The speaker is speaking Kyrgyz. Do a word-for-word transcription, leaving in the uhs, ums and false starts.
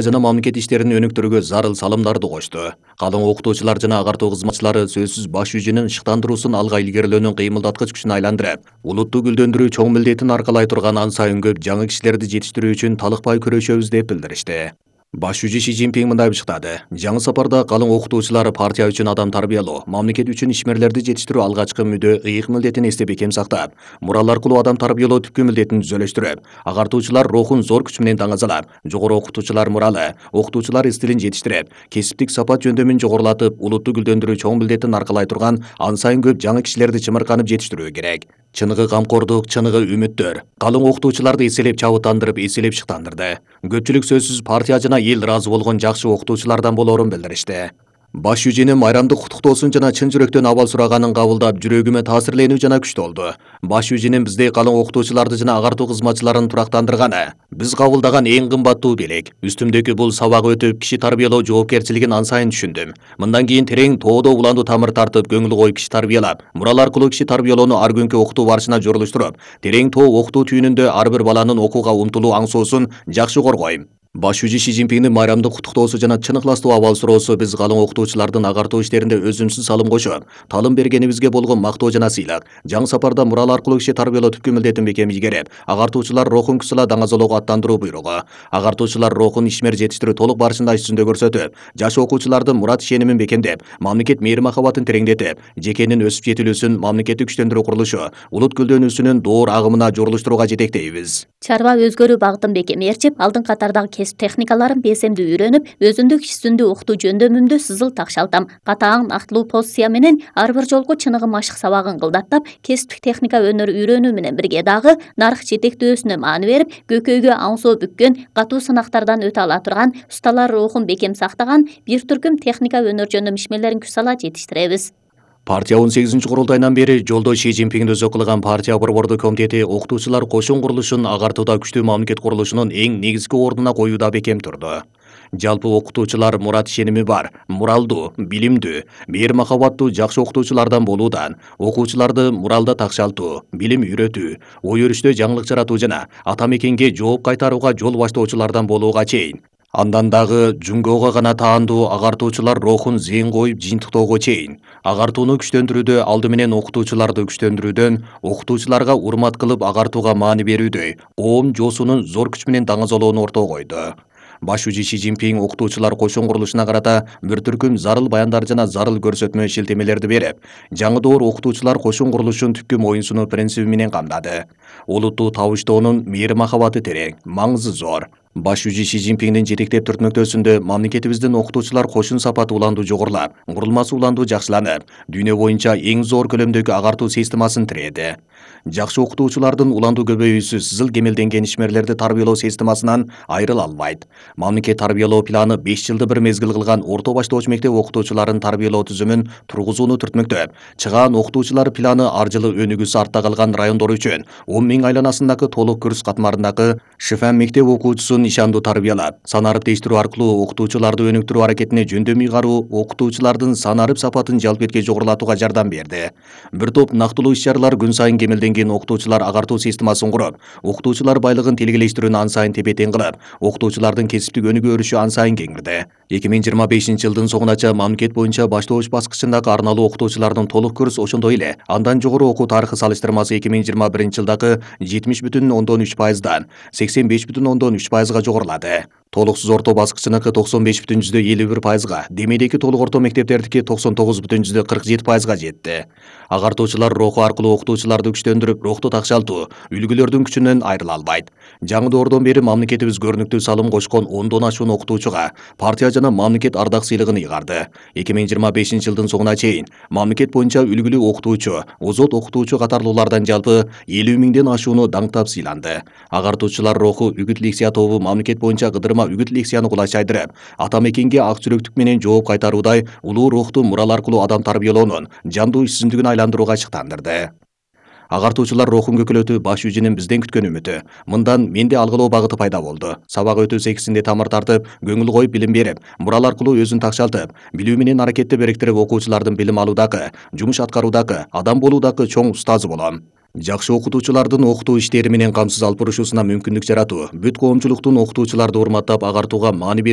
жана мамлекет иштерин өнүктүрүүгө зарыл салымдарды кошту. Калың окутуучулар жана агартуу кызматчылары сөзсүз баш жүзүнүн шыктандыруусун алга илгерилөөнүн кыймылдаткыч күчүнө айландырып, улутту гүлдөндүрүү чоң милдетин аркалай турган ан сайын көп жаңы кишилерди жетиштирүү үчүн талыкпай күрөшөбүз деп билдиришти. Баш жүзү Ши Цзиньпин мындай бышыктады. Жаңы сапарда калың окутуучулар партия үчүн адам тарбиялоо, мамлекет үчүн ишмерлерди жетиштирүү алгачкы мүдө ыйык милдетин эстеп бекем сактап, мурал аркылуу адам тарбиялоо түпкү милдетин түзөлөштүрүп, агартуучулар рухун зор күч менен таңазалап, жогору окутуучулар муралы, окутуучулар стилин жетиштирип, кесиптик сапат жөндөмүн жогорулатып, улутту гүлдөндүрүү чоң милдетин аркалай турган ан сайын көп жаңы кишилерди чымырканып жетиштирүү керек. Чыныгы камкордук, чыныгы үмүттөр калың окутуучуларды эселеп чабыттандырып, эселеп шыктандырды. Көпчүлүк сөзсүз партия жана эл ыраазы болгон жакшы окутуучулардан болоорун билдиришти. Баш жүзүнүн майрамдык куттуктоосун жана чын жүрөктөн абал сураганын кабылдап, жүрөгүмө таасирленүү жана күчтүү болду. Баш жүзүнүн биздей калың окутуучуларды жана агартуу кызматчыларын турактандырганы биз кабылдаган эң кымбаттуу белек. Үстүмдөгү бул сабак өтүп, киши тарбиялоо жоопкерчилигин ан сайын түшүндүм. Мындан кийин терең тоодо уланду тамыр тартып, көңүл коюп киши тарбиялап, мурал аркылуу киши тарбиялоону ар күнкү окутуу барышына жорулуштуруп, терең тоо окутуу түйүнүндө ар бир баланын окууга умтулуу аңсоосун жакшы коргойм. Баш жүзү Ши Цзиньпиндин майрамдык куттуктоосу жана чын ыхластуу абал суроосу биз калың окутуучулардын агартуу иштеринде өзүмсүз салым кошуп, талым бергенибизге болгон мактоо жана сыйлык. Жаңы сапарда мурал аркылуу киши тарбиялоо түпкү милдетин бекем ийгереп, агартуучулар рухун күч-сала даңазалоого аттандыруу буйругу. Агартуучулар рухун ишмер жетиштирүү толук барышында иш жүзүндө көрсөтүп, жаш окуучулардын мурат ишенимин бекемдеп, мамлекет мээри махабатын тереңдетип, жекенин өсүп жетилүүсүн, мамлекетти күчтөндүрүү курулушу, улут гүлдөнүүсүнүн доор агымына жорулуштурууга жетектейбиз. Чарба өзгөрүү багытын бекемээрчип, алдын катардагы кесип техникаларын бесемдүү үйрөнүп, өзүмдүк иш үстүндө окутуу жөндөмүмдү сызыл такшалтам. Катаң, актылуу позиция менен ар бир жолку чыныгы машык сабагын кылдаттап, кесиптик техника өнөр үйрөнүү менен бирге дагы нарк жетектөөсүнө маани берип, көкөйгө аңсоо бүккөн, катуу сынактардан өтө ала турган, усталар рухун бекем сактаган бир түркүм техника өнөр жөндөм ишмерлерин күч сала жетиштиребиз. Партия он сегизинчи курултайынан бери жолдо Ши Цзиньпин өзү кылган партия борбордук комитети окутуучулар кошун курулушун агартууда күчтүү мамлекет курулушунун эң негизги ордуна коюуда бекем турду. Жалпы окутуучулар мурат ишеними бар, муралдуу, билимдүү, мээр махабаттуу жакшы окутуучулардан болуудан, окуучуларды муралда такшалтуу, билим үйрөтүү, ой өрүштө жаңылык жаратуу жана ата мекенге жооп кайтарууга жол баштоочулардан болууга чейин, андан дагы жунгоого гана таандуу агартуучулар рухун зыйын коюп жыйынтыктоого чейин, агартууну күчтөндүрүүдө алды менен окутуучуларды күчтөндүрүүдөн, окутуучуларга урмат кылып агартууга маани берүүдөй оом жоосунун зор күч менен даңазалоону ортого койду. Баш жүзү Ши Цзиньпин окутуучулар кошун курулушуна карата бир түркүм зарыл баяндар жана зарыл көрсөтмө шилтемелерди берип, жаңы доор окутуучулар кошун курулушун түпкү моюнсунуу принциби менен камдады. Улутту табыштоонун мээри махабаты терең, маңызы зор. Баш жүзү Ши Цзиньпиндин жетектеп түртмөктөөсүндө мамлекетибиздин окутуучулар кошун сапаты уландуу жогорулап, курулмасы уландуу жакшыланып, дүйнө боюнча эң зор көлөмдөгү агартуу системасын тирээди. Жакшы окутуучулардын уландуу көбөйүүсү сызыл кемелденген ишмерлерди тарбиялоо системасынан айрыла албайт. Мамлекет тарбиялоо планы беш жылды бир мезгил кылган орто баштооч мектеп окутуучуларын тарбиялоо түзүмүн тургузууну түртмөктөп, чыгаан окутуучулар планы ар жылы өнүгүүсү артта калган райондор үчүн он миң айланасындагы толук курс катмарындагы ШИФАМ мектеп окуучусун ишандуу тарбиялап, санарып тештирүү аркылуу окутуучуларды өнүктүрүү аракетине жөндөм ыйгаруу окутуучулардын санарып сапатын жалпы этке жогорулатууга жардам берди. Бир топ нактылуу иш-чаралар күн сайын кемелденген окутуучулар агартуу системасын куруп, окутуучулар байлыгын телгелештирүүнү ан сайын тепе-тең кылып, окутуучулардын кесиптик өнүгүү өрүшү ан сайын кеңирди. эки миң жыйырма бешинчи жылдын соңунача мамлекет боюнча баштооч баскычындагы арналуу окутуучулардын толук курс, ошондой эле андан жогору окуу тарыхы салыштырмасы эки миң жыйырма биринчи жылдагы жетимиш бүтүн ондон үч пайыздан сексен беш бүтүн ондон үч пайызга жогорулады. Толуксуз орто баскычыныкы токсон беш бүтүн жүздө элүү бир пайызга, демейдеги толук орто мектептердики токсон тогуз бүтүн жүздө кырк жети пайызга жетти. Агартуучулар руху аркылуу окутуучуларды күчтөндүрүп, рухту такшалтуу, үлгүлөрдүн күчүнөн айрыла албайт. Жаңы доордон бери мамлекетибиз көрүнүктүү салым кошкон ондон ашуун окутуучуга партия жана мамлекет ардак сыйлыгын ыйгарды. эки миң жыйырма бешинчи жылдын соңуна чейин мамлекет боюнча үлгүлүү окутуучу, озот окутуучу катарлуулардан жалпы элүү миңден ашууну даңктап сыйланды. Агартуучулар руху үгүт лекция тобу мамлекет боюнча кыдырма үгүт лекцияны кулай айдырып, ата мекенге ак жүрөктүк менен жооп кайтаруудай улуу рухту мурал аркылуу адам тарбиялоонун жандуу иш жүзүндүгүн айландырууга чыктандырды. Агартуучулар рухун көкөлөтүү баш жүзүнүн бизден күткөн үмүтү. Мындан менде алгылоо багыты пайда болду. Сабак өтүү секисинде тамыр тартып, көңүл коюп билим берип, мурал аркылуу өзүн такшалтып, билүү менен аракетти бириктирип окуучулардын билим алуудагы, жумуш аткаруудагы, адам болуудагы чоң устазы болом. Жакшы окутуучулардын окутуу иштери менен камсыз алып турушусуна мүмкүндүк жаратуу, бүт коомчулуктун окутуучуларды урматтап агартууга маани